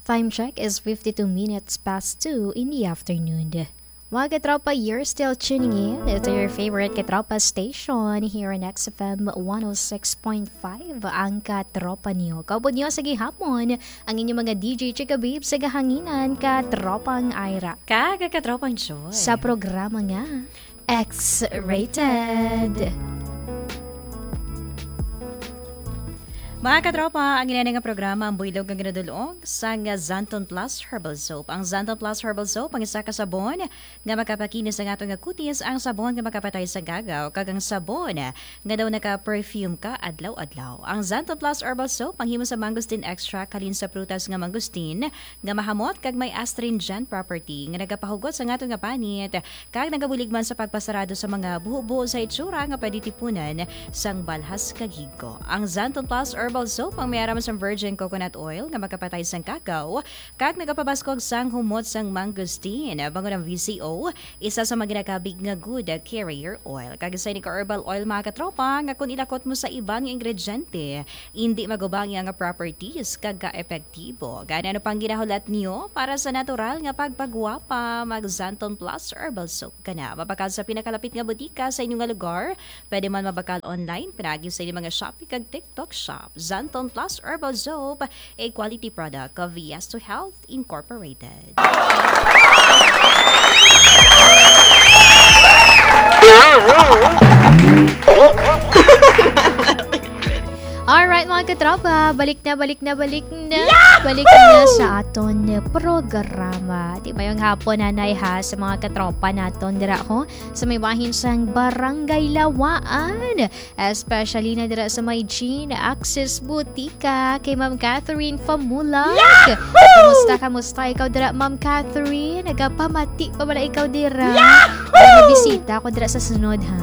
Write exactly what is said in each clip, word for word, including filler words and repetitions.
Time check is fifty-two minutes past two in the afternoon. Mga katropa, you're still tuning in to your favorite katropa station here on X F M one oh six point five, ang Katropa Niyo. Kaupod niyo sa gihapon, ang inyong mga D J Chika Babe sa gahanginan, Katropang Ira. Kag Katropang Joy. Sa programa nga X-Rated. Mga katropa, ang ina nga programa ang buylog nga ginadulong sang Xanthone Plus Herbal Soap. Ang Xanthone Plus Herbal Soap ang isa ka sabon nga makapakinis sa aton nga kutis, ang sabon nga makapatay sa gagaw, kag ang sabon nga daw naka-perfume ka adlaw-adlaw. Ang Xanthone Plus Herbal Soap ang himo sa mangosteen extract halin sa prutas nga mangosteen nga mahamot kag may astringent property nga nagapahugot sa aton nga panit kag nagabulig man sa pagpasarado sa mga buho-buho sa itsura nga pwede tipunan sang balhas kag higko. Ang Xanthone Plus Herbal Soap ang may aram sang virgin coconut oil nga makapatay sang gagaw kag nagapabaskog sang humot sang mangosteen. Bangod ang V C O, isa sa mga ginakabig nga good carrier oil. Kag sa ini ka herbal oil, mga katropa, nga kung ilakot mo sa iba nga ingrediente, indi maguba ang iya nga properties kag ka-epektibo. Gani, ano pang ginahulat niyo para sa natural nga pagpagwapa? Mag Xanthone Plus Herbal Soap ka na. Mabakal sa pinakalapit nga butika sa inyo nga lugar. Pwede man mabakal online, pinagi sa inyong mga Shopee kag TikTok Shop. Xanthone Plus Herbal Soap, a quality product of Yes to Health Incorporated. Alright, mga katropa, balik na, balik na, balik na. Balik na sa aton programa. Di, mayong hapon, nanay, ha, sa mga katropa naton dira, ho, sa may bahin sang Barangay Lawaan, especially na dira sa may Jean Axis Butika, kay Ma'am Catherine Famulag. Yahoo! Kamusta, kamusta ikaw dira, Ma'am Catherine? Nagapamati pa bala ikaw dira? Yahoo! Ay, mabisita ako dira sa sunod, ha?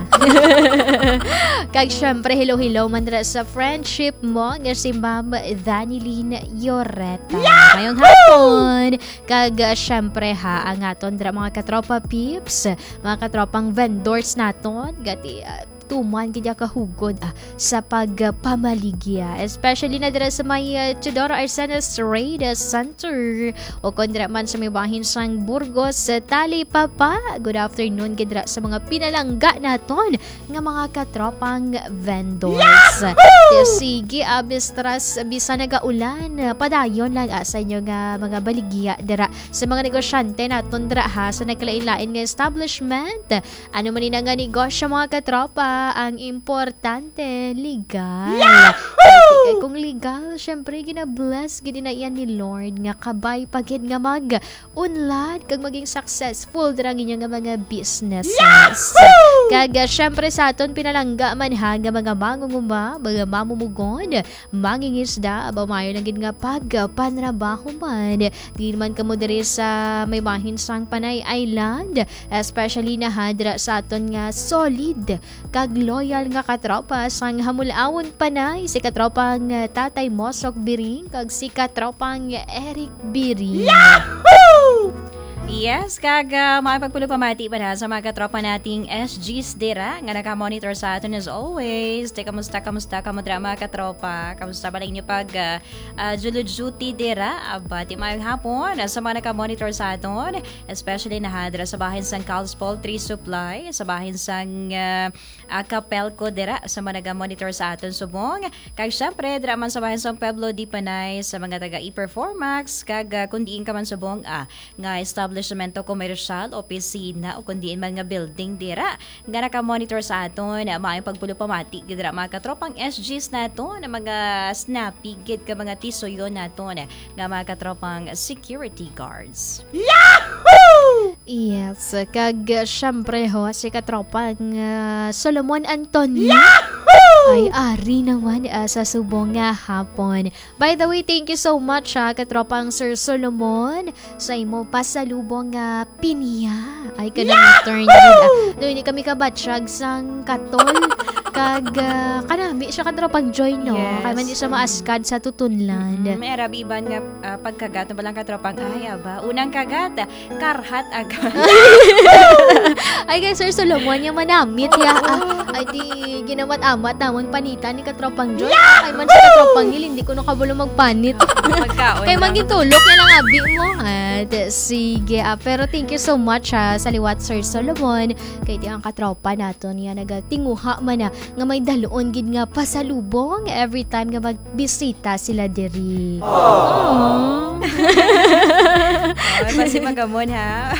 Kag syempre, hello-hello man dira sa friendship mo nga si Ma'am Danilyn Yoreta. Yahoo! Mayong hapon. Kag, ah, syempre, ha, ang aton dira, mga katropa peeps, mga katropang vendors naton, gati, ah, tuman gid ya kahugod, ah, sa pagpamaligya, especially na dira sa may, ah, Teodoro Arcenas Trade Center, o kon dira man sa may bahin sang Burgos, sa Talipapa. Good afternoon gid dira sa mga pinalangga naton nga mga katropang vendors. Yahoo! Sige, ah, mistras, bisan nagaulan, ah, padayon lang, ah, sa inyo nga mga baligya dira sa mga negosyante naton dira, ha, sa nagkalain-lain nga establishment. Ano man ina nga negosyo, mga katropa, ang importante, legal. Yahoo! Kay kung legal, syempre, gina-bless gid na iyan ni Lord nga kabay pa gid nga mag-unlad kag maging successful dira ang inyo nga mga businesses. Yahoo! Kag, ah, syempre, sa aton pinalangga man, ha, nga mga mangunguma, mga mamumugon, mangingisda, aba, maayo lang gid nga pagpanrabaho man. Diin man kamo diri sa may bahin sang Panay Island, especially na, ha, dira sa aton nga solid kag loyal nga katropa sang Hamulawon Panay, si katropang, ah, Tatay Mosok Biring kag si katropang Eric Biring. Yahoo! Yes, kag, ah, maayong pagpulong pamati pa na sa mga katropa nating S Gs dira nga nakamonitor sa aton as always. Te, kamusta, kamusta, kamusta, mga katropa? Kamusta ba lang inyo pag, ah, ah, Julo Duty dira? Aba, ti, mayong hapon, ah, sa mga nakamonitor sa aton, especially na, ha, dira sa bahin sang Cal's Poultry Supply, sa bahin sang, ah, ah, Capelco dira sa mga naga-monitor sa aton subong. Kag syempre, dira man sa bahin sang Pueblo de Panay, sa mga taga E-Performax, kag, ah, kung diin ka man subong, ah, nga establishmento komersyal, opisina, o kung diin man nga building dira nga nakamonitor sa aton. Maayong pagpulong pamati gid dira, mga katropang S Gs naton, mga snappy gid ka mga tisuyo naton, nga mga katropang security guards. Yahoo! Yes, kag, uh, syempre ho, si katropang, uh, Solomon Antonio. Yahoo! Ay ari naman, uh, sa subong nga hapon. By the way, thank you so much, ha, katropang Sir Solomon, sa imo pasalubong nga pinya. Ay, kanang turn gid, ah. No, hindi kami kabatsyag sang katol. Kag, ah, kanami siya, katropang Joy, no? Yes. Kay man di siya maaskad sa tutunlan. Mm, may arabi iban nga, ah, pagkagat na balang katropang, ay, aba, unang kagat, karhat agad. Ay, kay Sir Solomon, yung manamit, ya. Oo. Ah, ay, di, ginamat-amat namon panitan ni katropang Joy. Yahoo! Ay, man sa katropang Neil, hindi ko nakabalo magpanit. Pagkaon Kay lang. Magintulok na lang abi mo. At, sige, ah, pero thank you so much, ha, sa liwat, Sir Solomon. Kay di ang katropa naton niya nagatinguha man na nga may dalon gid nga pasalubong every time nga magbisita sila diri. Aww. Aww. Ay, basi magamon, ha?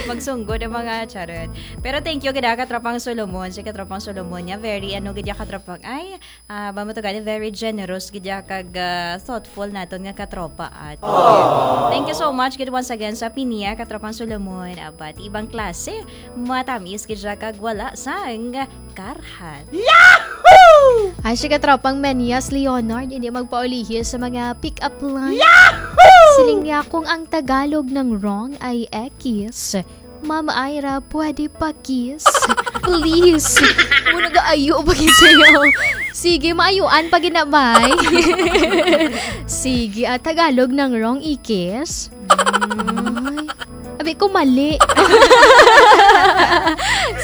Magsunggod ang mga charot. Pero thank you gid, ah, katropang Solomon. Si katropang Solomon niya, very, ano, gid ya katropang, ay, ah, ba mo to gani, very generous gid ya kag, ah, thoughtful naton nga katropa, ate. Aww. Thank you so much gid once again sa pinia, katropang Solomon. Abat, ibang klase. Matamis gid siya kag wala sang karhat. Yahoo! Ay, si katropang Menias Leonard, hindi magpaulihi sa mga pick-up line. Yahoo! Siling niya, kung ang Tagalog ng wrong ay ekis, Ma'am Ira, pwede pa kiss? Please. Mo nagaayo pa gid sa'yo. Sige, maayuan pa gid na, bay. Sige, ah, Tagalog ng wrong ikis. Ay. Abi ko mali.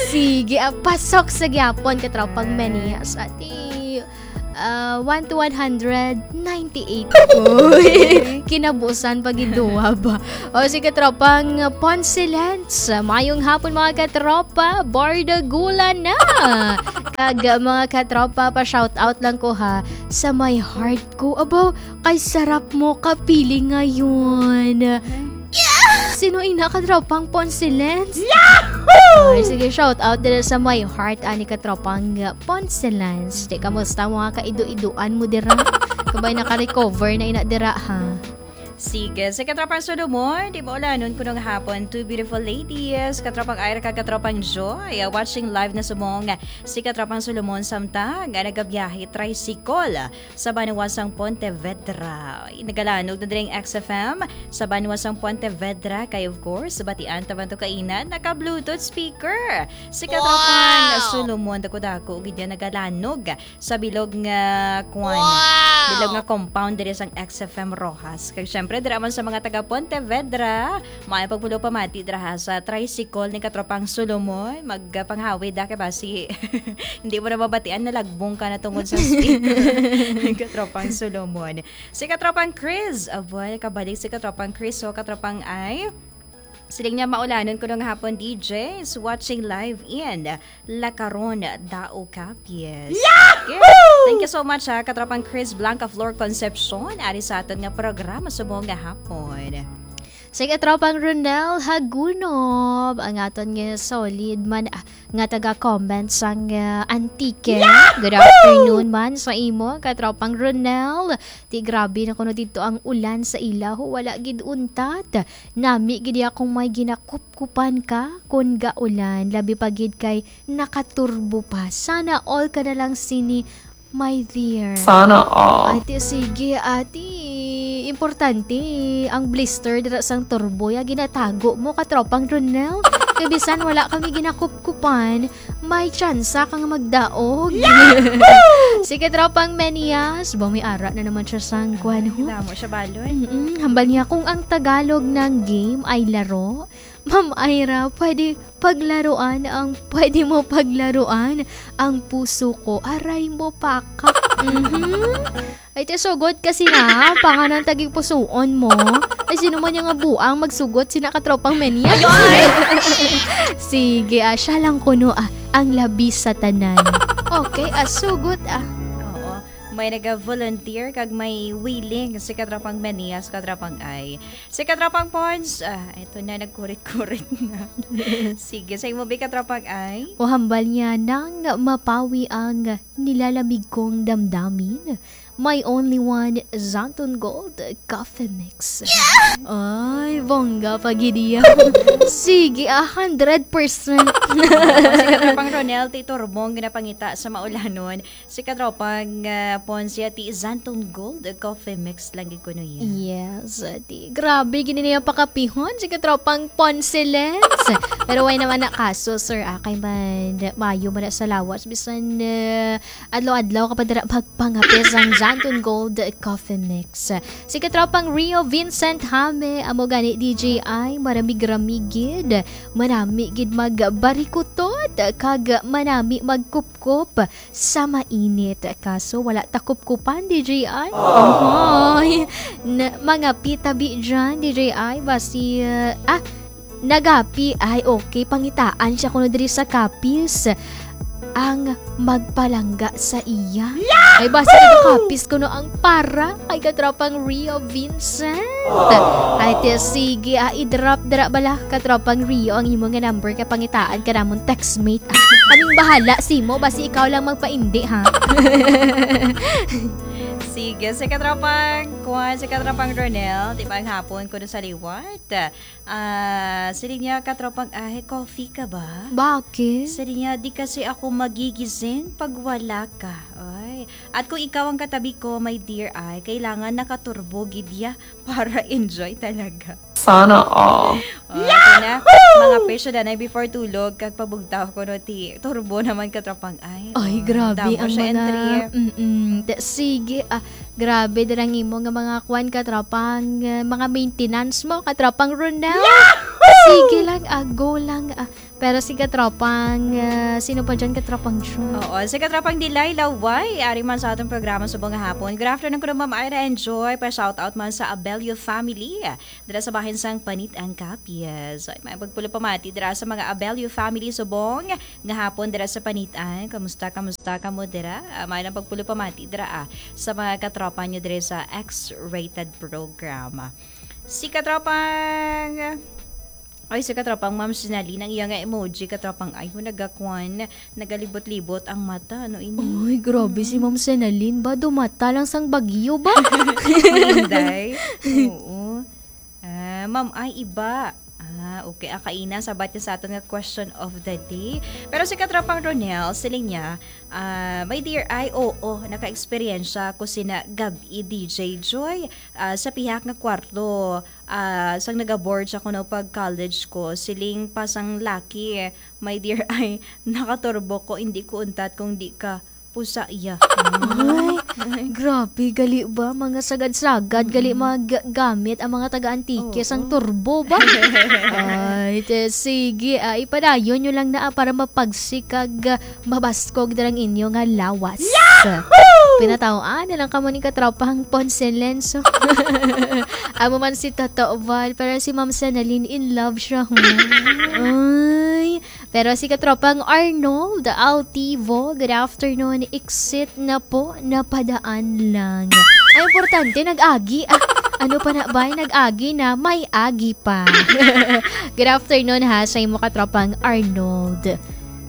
Sige, ah, pasok sa gyapon, katropang Ay. Menias. Ati, ah, one to one hundred, ninety-eight. Uy, kinabusan pa gid duwa ba? O, sige, tropang Ponce Lens. Mayong hapon, mga katropa. Bardagulan na. Kag, mga katropa, pa-shout out lang ko, ha, sa my heart ko. Abaw, kay sarap mo kapili ngayon. Sino ina, katropang Ponce Lens? Yahoo! Ay, sige, shout out dira sa my heart, ani, katropang, uh, Ponce Lens. Di, kamusta mga kaido-idoan mo dira? Kabay naka-recover na ina dira, ha? Sige, sa katropang Solomon, di ba ulanon kuno nga hapon, two beautiful ladies, katropang Ira kag katropang Joy, uh, watching live na subong si katropang Solomon samtang nga nagabiyahe tricycle sa banwa sang Pontevedra. Nagalanog na diri ang X F M sa banwa sang Pontevedra. Kay, of course, batian ta man to kaina, naka-Bluetooth speaker. Si katropang Wow! Solomon, dako-dako gid yan nagalanog sa bilog nga, kwan, Wow! bilog nga compound diri sang X F M Roxas. Kag syempre, dira man sa mga taga Pontevedra, may pagpulo pamati dira ha sa tricycle ni katropang Solomon. Magpanghawid da kay basi hindi mo na mabatian, nalagbong ka na tungod sa speaker. Katropang Solomon. Si katropang Chris, aboy, kabalik si katropang Chris, so katropang ay, siling niya, maulanon ko nung hapon, D Js, watching live in Lacaron, Dao, Capiz. Yahoo! Yes. Thank you so much, ha, katropang Chris Blanca Flor Concepcion, ari sa aton nga programa subong nga hapon. Sige, tropang Ronel Hagunob, ang aton nga solid man, ah, nga taga-comment sang, ah, Antique. Yahoo! Good afternoon man sa imo, katropang Ronel. Ti grabe na kuno didto ang ulan sa ila, ho, wala gid untat. Nami gid akong may ginakupkupan ka kon gaulan, labi pa gid kay nakaturbo pa. Sana all ka na lang sini, my dear. Sana all. Ate, sige, ate. Importante ang blister dira sang turbo, ya ginatago mo, katropang Ronel. Kay bisan wala kami ginakupkupan, may tsansa kang magdaog. Yahoo! Sige, tropang Menias, ba may ara na naman siya sang kwan, ho? Ay, damo siya balon. Mm-mm. Hambal niya, kung ang Tagalog ng game ay laro, Ma'am Ira, pwede paglaruan ang, pwede mo paglaruan ang puso ko. Aray mo, pakak. Mhm. Ay, te, sugot kasi na, panganan tagig pusuon mo. Ay, sino man yung nga buang magsugot, sina katropang Menya? Ayoy! Sige, ah, siya lang kuno, ah, ang labi sa tanan. Okay, ah, sugot, ah. Oo. May naga-volunteer kag may willing si katropang Menias, katropang Ay. Si katropang Pons, ah, ito na, nagkurit-kurit na. Sige, sa imo, bi, katropang Ay? O hambal niya, nang mapawi ang nilalamig kong damdamin, My only one, Xanthone Gold Coffee Mix. Ay, bongga pa gid iya. Sige, a hundred percent. Si Katropang Ronel, ti turbong ginapangita sa maulanon. Si Katropang, ah, Ponce, ti Xanthone Gold Coffee Mix lang gid kuno iya. Yes, ti grabe gid niya pakapihon si Katropang Ponce Lens. Pero way naman na kaso, sir, ah, kay man, maayo man na sa lawas, bisan, ah, adlaw-adlaw ka pa dira magpangape sang Xanthone Gold Coffee Mix. Si Katropang Rio Vincent Hame, amo gani, D J I, maramig-ramig gid, manami gid magbarikutot, kag manami magkupkop sa mainit. Kaso wala ta kupkupan, D J I. Ay, na, mga pitabi dyan, D J I, basi, ah, ah, nagapi, ay, okay, pangitaan siya kuno diri sa kapis ang magpalangga sa iya. Ay, basi nagakapis kuno ang para kay Katropang Rio Vincent. Ay, ti, sige, ah, i-drop dira bala, Katropang Rio, ang imo nga number kay pangitaan ka namon textmate. Ah, kaming bahala simo, basi ikaw lang magpaindi, ha? Sige, si Katropang Kwan, si Katropang Ronel, di ba ang hapon ko sa liwat? Ah, siling niya, Katropang Ahe, coffee ka ba? Bakit? Siling niya, di kasi ako magigising pag wala ka. Ay. At kung ikaw ang katabi ko, my dear, ay, kailangan nakaturbo gid ya para enjoy talaga. Sana all. Oh, ito na. Mga presyo na na before tulog, kag pabugtaw ko no, ti turbo naman, Katropang Ahe. Ay, oh, grabe damo ang siya mga, entry. Mm-mm. Te-, sige, ah, grabe, darang imo nga mga kwan, Katropang, ah, mga maintenance mo, Katropang Ronel. Yahoo! Sige lang, ah, go lang, ah. Pero si Katropang, ah, sino pa dyan, Katropang Jun? Oo, si Katropang Delilah, why? Ari man sa atong programa subong nga hapon. Good afternoon, kuno Ma'am Ira and Joy. Pa-shout out man sa Abelio family. Dira sa bahin sang Panit-an Capiz. Ay, may pagpulupamati dira sa mga Abelio family subong nga hapon dira sa Panit-an. Kamusta, kamusta kamo dira? Ah, may lang pagpulupamati dira, ah, sa mga katropa nyo dira sa X-rated program. Si katropang, ay, si katropang Ma'am Sinalin, ang iya nga emoji, katropang, ay, nagakwan, nagalibot-libot ang mata, ano ini? Ay, grabe si Ma'am Sinalin ba? Dumata lang sang bagyo ba? Inday. Oo. Ah, ma'am, ay iba. Ah, okay. Ah, kaina, sabat ka sa aton nga question of the day. Pero si katropang Ronel, siling niya, ah, "My dear, ay, oo, naka-eksperyensya ko sina gab-i, D J Joy, ah, sa pihak nga kwarto, ah, sang nagaboard siya kuno pag college ko, siling pa sang laki, my dear, ay, nakaturbo ko, hindi ko untat kung di ka pusa iya." Ay, grabe, gali ba? Mga sagad-sagad, gali Mm. maggamit ang mga taga-Antique Oo. sang turbo ba? Ay, te, sige, ah, ipadayon nyo lang na, ah, para mapagsik kag, ah, mabaskog darang inyo nga lawas. Yahoo! Pinataw-an na lang kamo ni katropang Ponce Lenso. Amo man si Toto Val, pero si Ma'am Sanalin in love siya, hmm. Ay, pero si katropang Arnold Altivo, good afternoon. Exit na po, napadaan lang. Ay, importante, nag-agi. Ah, ano pa na ba? Nag-agi na, may agi pa. Good afternoon ha, sa imo katropang Arnold.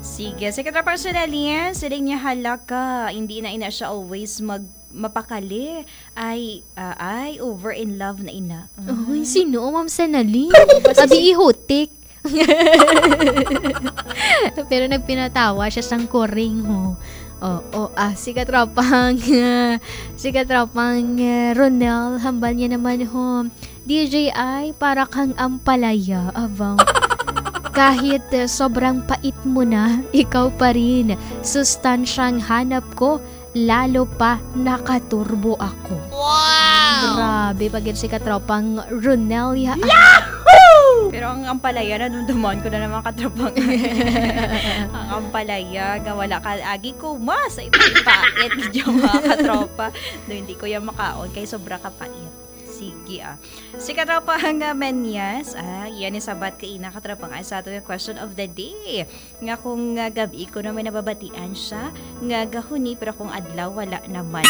Sige, si katropang Sonalyn, siling niya, "Hala ka, hindi na ina siya always mag-, mapakali. Ay, ah, ay, over in love na ina." Ay, sino, Ma'am Sanalyn? Abi, ihutik. Pero nagpinatawa siya sang kuring, ho. Oo, ah, si katropang, si katropang, eh, Ronel, hambal niya naman, ho. D J I, para kang ampalaya, abang. Kahit, eh, sobrang pait mo na, ikaw pa rin. Sustansyang hanap ko, lalo pa nakaturbo ako. Wow! Grabe pa gid si katropang Ronel, ya. Yahoo! Pero ang ampalaya, nadumduman ko na naman, katropang. Ang ampalaya, nga wala ka, agi ko, mas, ay, pait, gid yung mga katropa. Do, hindi ko yan makaon, kay sobra ka pait. Sige, ah. Si katropang, ah, Menyas, ah, yan yung sabat kaina, katropang, ay sa ato yung question of the day. Nga kung, ah, gab-i ko na may nababatian siya, nga gahuni, pero kung adlaw, wala naman.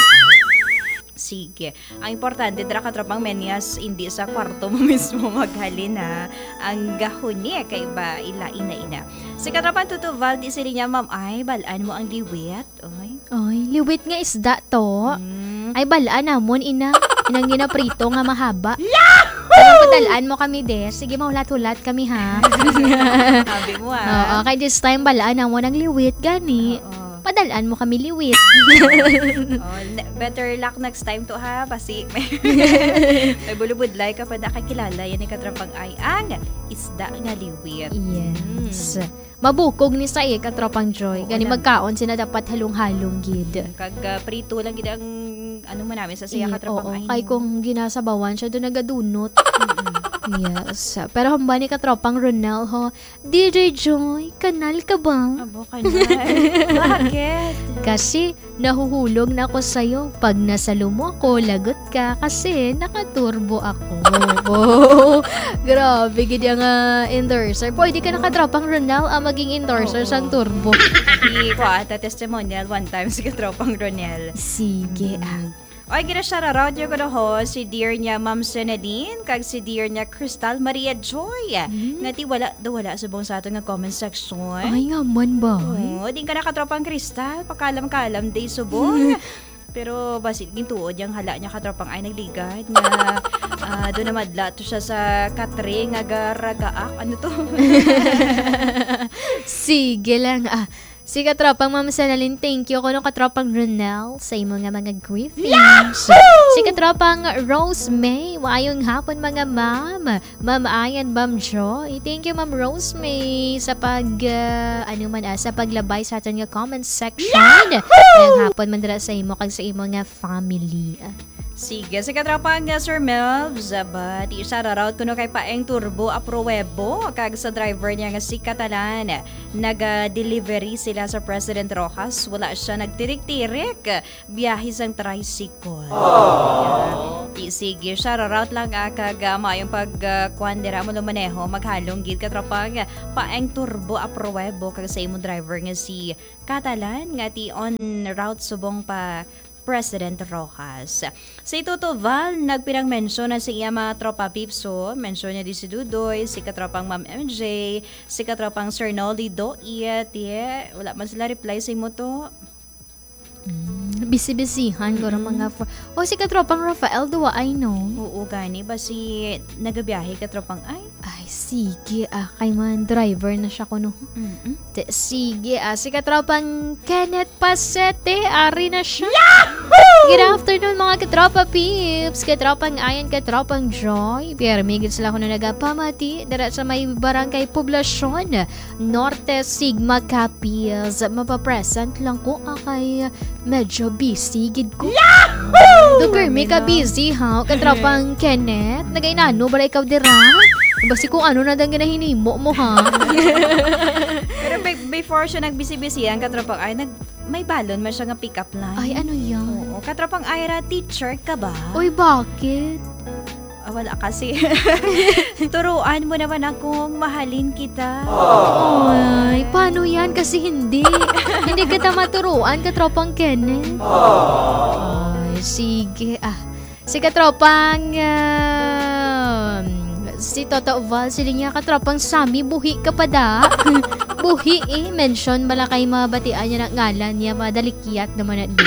Sige. Ang importante, dira, katropang Menyas, hindi sa kwarto mo mismo maghalin, ha. Ang gahuni, kay ba, ila, ina, ina. Si katropang Tutuval, di sila niya, ma'am, ay, balaan mo ang liwit. Oy. Oy, liwit nga isda to. Mm. Ay, balaan namon, ina. Inang ginaprito nga mahaba. Yahoo! Padal-an mo kami, de. Sige, mahulat-hulat kami, ha? Sabi mo, ah. Oo, kay this time, balaan namon ang liwit, gani. Oo. Padal-an mo kami liwit. Oh, ne-, better luck next time to, ha? Basi may, may bulubudlay ka pa nakakilala. Yan ang katropang ay ang isda nga liwit. Yes. Mm. Mabukog ni sa iya, katropang Joy. Oo, gani lang. Magkaon sila dapat halong-halong gid. Mm, kag, ah, prito lang gid ang, ano mo namin sa siya, katropang, oo, ay, kay no. Kung ginasabawan siya, doon nagadunot. Mm-mm. Yes. Pero hamba ni katropang Ronel, ho, D J Joy, kanal ka ba? Abo, kanal. Bakit? Kasi nahuhulog na ako sa'yo. Pag nasalumo ako, lagot ka kasi nakaturbo ako. Oh, grabe gid ang, ah, endorser. Pwede ka na katropang Ronel, ah, maging endorser sang turbo. Oo. Di ko ata testimonial one time si katropang Ronel. Sige, ah. Mm. Oy, gina-shoutout niyo ko ho, si dear niya Ma'am Senadine, kag si dear niya Crystal Maria Joy. Mm. Nga ti wala daw wala subong sa aton nga comment section. Ay, nga man ba? Oo, di ka na katropang Crystal, pakalam-kalam day subong. Pero basi gintuod yang hala niya katropang ay nagligad nga, ah, doon na madla to siya sa katre nga garagaak. Ano to? Sige lang, ah. Si katropang Ma'am Senalyn, thank you. Kuno katropang Ronel, sa imo nga mga greetings. Yahoo! Si katropang Rose May, maayong hapon, mga ma'am. Ma'am Ayan, Ma'am Joy. Thank you, Ma'am Rose May, sa pag, ah, ano man, ah, sa paglabay sa aton nga comment section. Yahoo! Maayong hapon man dira sa imo kag sa imo nga family. Sige, si katropang, ah, Sir Melvs, ah, ba, di siya ra-route kuno kay Paeng Turbo Apruebo, kag sa driver niya nga si Catalan. Naga-delivery sila sa President Roxas. Wala siya nagtirik-tirik. Biyahe sang tricycle. Aww. Di, sige, siya ra-route lang, ah, kag, ah, maayong pag, ah, kuwan dira mo lumaneho, maghalong gid katropang Paeng Turbo Apruebo, kag sa imong driver nga si Catalan, nga ti on route subong pa President Roxas. Si Toto Val, nagpinang-mention na sa iya mga tropa peeps, so, mention niya di si Dudoy, si katropang Ma'am M J, si katropang Sir Nolly Doit, yeah, wala man sila reply sa imo to. Mm, busy-busyhan, guro, mm, mga fr-, oh, si katropang Rafael, duwa ay, no? Oo, gani. Basi nagabiyahe katropang ay? Ay, sige, ah, kay man driver na siya kuno. Mm-mm. Te-, sige, ah, si katropang Kenneth Pasete, ari na siya. Yahoo! Good afternoon, mga katropa peeps, katropang Ayan, katropang Joy. Pero may gid sila kuno nagapamati dira sa may barangay Poblacion Norte, Sigma, Capiz. Mapapresent lang ko, ah, kay medyo busy gid ko. Yahoo! Duker, may ka busy, ha? Katropang Kenneth, nagainano ba ikaw dira? Basi kung ano na dang ginahinimo mo, ha? Pero be-, before siya nagbisi-bisi, ang katropang ay nag-, may balon man siya nga pick-up line. Ay, ano yan? Oo, katropang Ira, teacher ka ba? Uy, bakit? Ah, wala kasi. Turuan mo naman akong mahalin kita. Ay, paano yan? Kasi hindi. Hindi kita maturuan, katropang Kenneth. Ay, sige. Ah, si katropang, um, si Toto Val, sila niya, katropang Sammy, buhi ka pa da. Buhi eh. Mention bala kay mabatian niya na ngalan niya, madalikyat naman na di.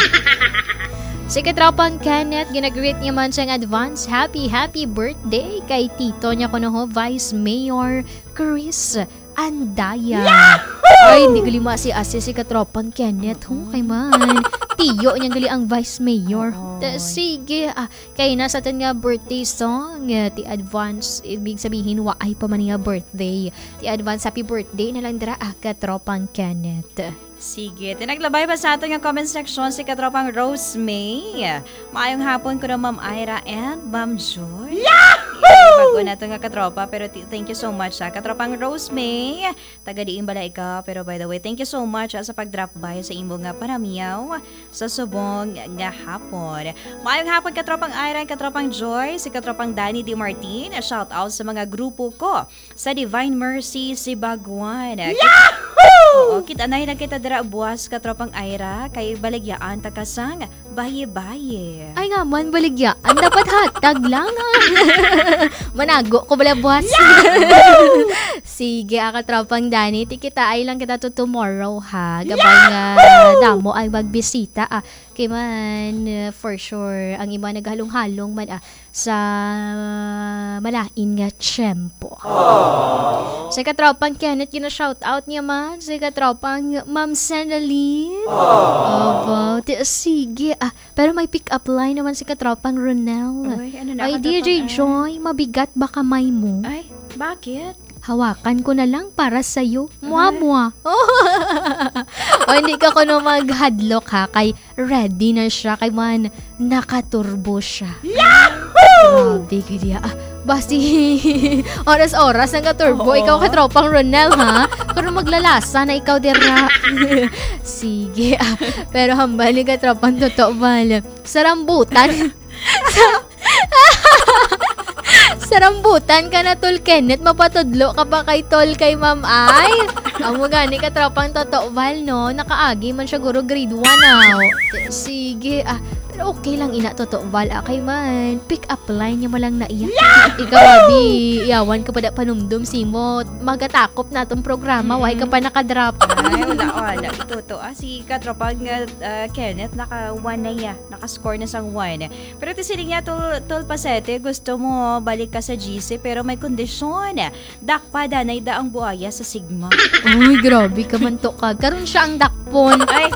Si katropang Kenneth, ginagreet niya man siyang advance happy, happy birthday kay tito niya kuno ho, Vice Mayor Chris Andaya. Yahoo! Ay, hindi gali maasi-asi si katropang Kenneth, ho, kay man. Tiyo niya gali ang Vice Mayor. Oo. Ta-, sige, ah, kay na sa aton nga birthday song, eh, ti advance, ibig sabihin, waay pa man nga birthday. Ti advance happy birthday na lang dira, ah, katropang Kenneth. Sige, tinaglabay pa sa aton nga comment section si katropang Rose May. Maayong hapon kuno, Ma'am Ira and Ma'am Joy. Yahoo! Bago na to nga katropa, pero ti-, thank you so much, ha, katropang Rose May. Taga diin bala ikaw? Pero by the way, thank you so much, ha, sa pag-drop by sa imo nga panamyaw sa subong nga hapon. Maayong hapon, katropang Ira and katropang Joy, si katropang Danny Di Martin. Shout out sa mga grupo ko sa Divine Mercy, Sibaguan. Yahoo! Oo, kit-anay lang kita dira buwas, katropang Ira, kay baligyaan ta ka sang Baye-baye. Ay nga man, baligya. Ang dapat hatag lang. Manago ko bala, boss. Sige, ah, katropang Danny, ti kita ay lang kita to tomorrow, ha. Gabay nga damo ay magbisita, ah. Kay man, uh, for sure, ang iba naghalong-halong man, ah, sa malain nga tiyempo. Si katropang Kenneth, gina-shout out niya man. Si katropang Ma'am Senalyn. Opo. Ti-, sige, ah, pero may pick-up line naman si katropang Ronel. Uy, ano na, Ay, katropang D J Joy, mabigat ba kamay mo? Ay, bakit? Hawakan ko na lang para sa'yo. Mwa-mwa. O, hindi ka kuno maghadlok, ha, kay ready na siya, kay man, nakaturbo siya. Yahoo! Grabe, kaya, ah, basi, oras-oras ang katurbo. Oo. Ikaw, katropang Ronel, ha? Pero maglalasa na ikaw, dira. Sige, ah, pero hambal ni katropang Toto Val. Sa rambutan. Sa rambutan ka na, Tol Kenneth, mapatudlo ka pa kay Tol kay Ma'am Ay. Amo gani katropang Toto Val, no? Nakaagi man siya, guro, grade one, aw. Sige, ah, pero okay lang ina, Toto Val, ah, kay man, pick up line niya mo lang na iya. Ikaw, abi, yawan ka pa da panumdum, simo, magatakop na atong programa, why ka pa nakadrop? Ay, wala, wala. Ito, to, ah, si katropang, ah, ah, Kenneth, naka one na iya. Naka-score na sang one. Pero ti siling niya, Tol, Tol Pasete, gusto mo balik ka sa G C, pero may kondisyon. Dakpa danay da ang buaya sa sigma. Uy, grabe ka man to ka. Karon siya ang dakpon. Ay.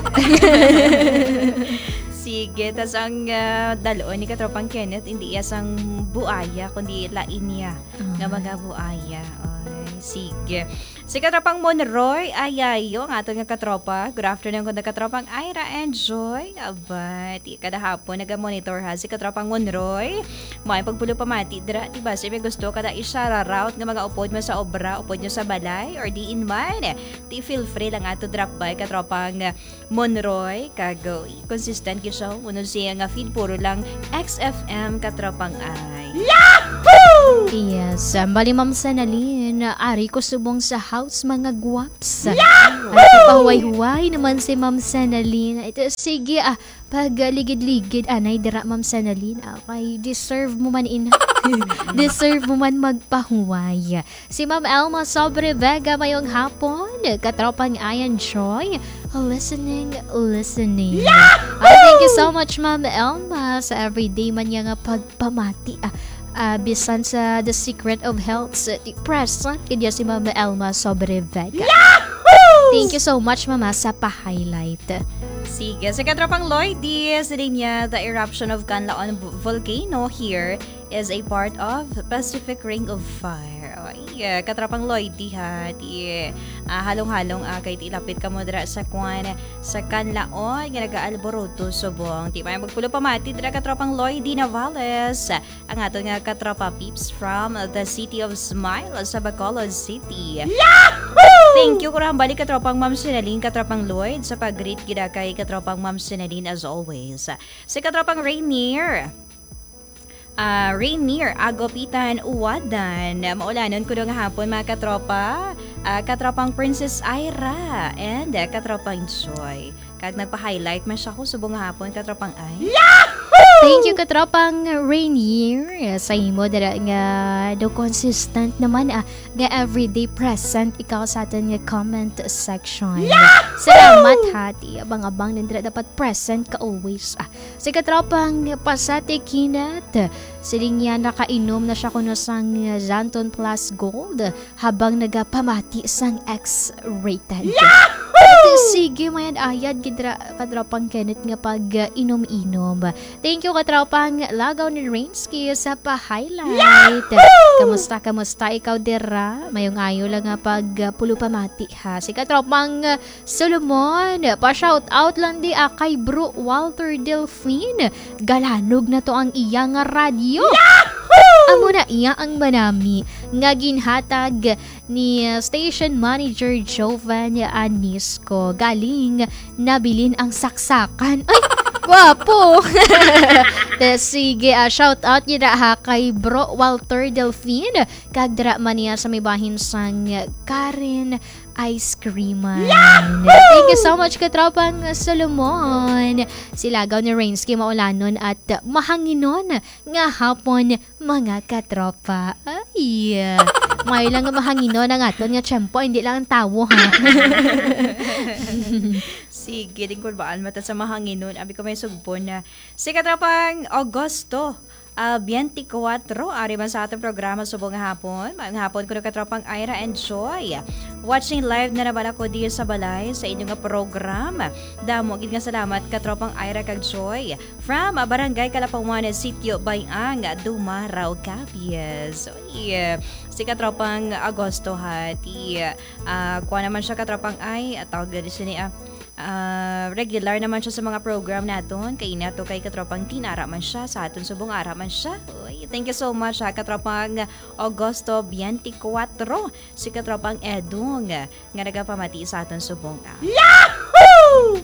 Sige, tas ang, ah, dalon ni katropang Kenneth, hindi iya sang buaya, kundi lain niya nga mga buaya. Ay, sige. Si katropang Monroy Ayayo, ang aton nga katropa. Good afternoon, kuno katropang Ira and Joy. Aba, ti kada hapon naga-monitor, ha, si katropang Monroy. May pagpulo pamati dira, ti basi may gusto ka na i-shout out nga mga upod mo sa obra, upod nyo sa balay, or diin man. Ti feel free lang ato drop by, katropang Monroy, kag, uh, consistent gyud siya. Unod siya nga feed, puro lang X F M, katropang Ay. Yahoo! Yes, um, bali, Ma'am Senalyn, ari ko subong sa house, mga guwaps. Yahoo! Ay, pahuway-huway naman si Ma'am Senalyn. Ito, sige, ah, pag, ah, ligid-ligid, anay, dira, Ma'am Senalyn, ah, kay deserve mo man ina. Deserve mo man magpahuway. Si Ma'am Elma Sobre Vega, mayong hapon. Katropang Ayan Joy, listening, listening. Yahoo! Ay, thank you so much, Ma'am Elma, sa everyday man niya nga pagpamati. Ah, ah, bisan sa The Secret of Health, sa, present gid ya si Ma'am Elma Sobre Vega. Yahoo! Thank you so much, Mama, sa pa-highlight. Sige, sa katropang Lloyd, di, sa linya, the eruption of Canlaon v-, volcano here is a part of Pacific Ring of Fire. Ay, uh, katropang Lloyd, di ha, di, ah, halong-halong, ah, kay ti lapit ka mo dira sa kwan, sa Canlaon, nga nag-aalboroto subong. Di may magpulo pamati dira, katropang Lloyd, di Navales, ang aton nga katropa peeps from the City of Smile sa Bacolod City. Yahoo! Thank you, kurang balik, katropang Ma'am Sinalin, katropang Lloyd, sa pag-greet gid kay katropang Ma'am Sinalin as always. Si katropang Rainier. Ah, Rainier Agopitan Uwadan. Maulanon kuno nga hapon, mga katropa. Ah, katropang Princess Ira and, ah, katropang Joy. Kag nagpa-highlight man siya ko subong nga hapon, katropang Ay. Yahoo! Thank you, katropang Rainier, sa imo dira nga do consistent naman, ah, nga everyday present ikaw sa aton nga comment section. Yahoo! Salamat, ha, ti abang-abang nindra dapat present ka always. Ah, si katropang Pasate Kinat, siling niya nakainom na siya kuno sang Xanthone Plus Gold habang nagapamati sang X-rated. Yahoo! At sige, mayad-ayad gid ra, katropang Kenneth, nga pag, uh, inom-inom. Thank you, katropang Lagaw ni Rainsky, sa pa-highlight. Yahoo! Kamusta, kamusta ikaw dira? Mayong ayo lang nga pag, uh, pulo pamati, ha. Si katropang, uh, Solomon, pa-shout out lang di, ah, kay Bro Walter Delfin. Galanog na to ang iya nga radyo. Yahoo! Amo na iya ang manami nga ginhatag ni, uh, station manager Jovan Anisco. Galing nabilin ang saksakan. Ay, gwapo! Te, sige, ah, shout out yun na, ha, kay Bro Walter Delfin. Kag dira man niya sa may bahin sang Karen ice cream man. Yahoo! Thank you so much, katropang Solomon. Silagaw ni Rainsky, maulanon at mahanginon nga hapon, mga katropa. Ay, may lang nga mahanginon ang aton nga tiyempo, hindi lang ang tawo, ha? Sige, din kulbaan mata sa mahanginon. Abi ko may sugbon na si katropang Augusto, ah, twenty-four, ari man sa atong programa subong nga hapon. Maayong hapon kuno, katropang Ira and Joy. Watching live na naman ako diri sa balay sa inyo nga program. Damo gid nga salamat, katropang Ira kag Joy. From, ah, Barangay Kalapawan, Sitio Bayang, Dumarao, Capiz. Uy, si katropang Augusto, ha, ti, ah, kuha naman siya, katropang, ay, ah, tawag na sini, ah, ah, regular naman siya sa mga program naton. Kay ini ato kay katropang Tin, ara man siya, sa aton subong ara man siya. Uy, thank you so much, ha, katropang Augusto twenty-four, si katropang Edong, nga nagapamati sa aton subong, ah. Yahoo!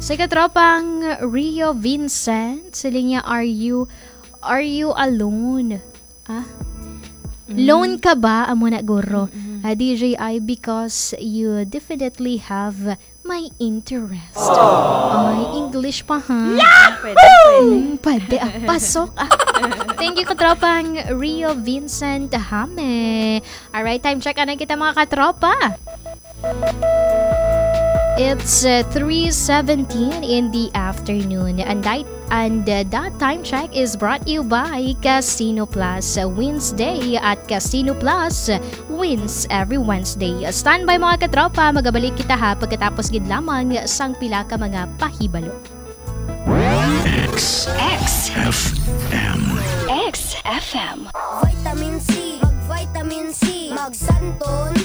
Si katropang Rio Vincent, siling niya, "Are you, are you alone?" Ah? Mm. Lone ka ba? Amo na, guro. Mm-mm. Ah, D J I, because you definitely have my interest. Ay, English pa, ha? Pwede, pwede. Mm, pwede. Ah, pasok. Ah. Thank you, katropang Rio Vincent Hame. Alright, time check. Ano kita, mga katropa? It's, uh, three seventeen in the afternoon, and that, and, uh, that time check is brought to you by Casino Plus. Wednesday at Casino Plus wins every Wednesday. Standby, mga katropa, magabalik kita, ha, pagkatapos gid lamang sang pila ka mga pahibalo. X X F M. X F M. Vitamin C, mag-vitamin C, mag-Santon.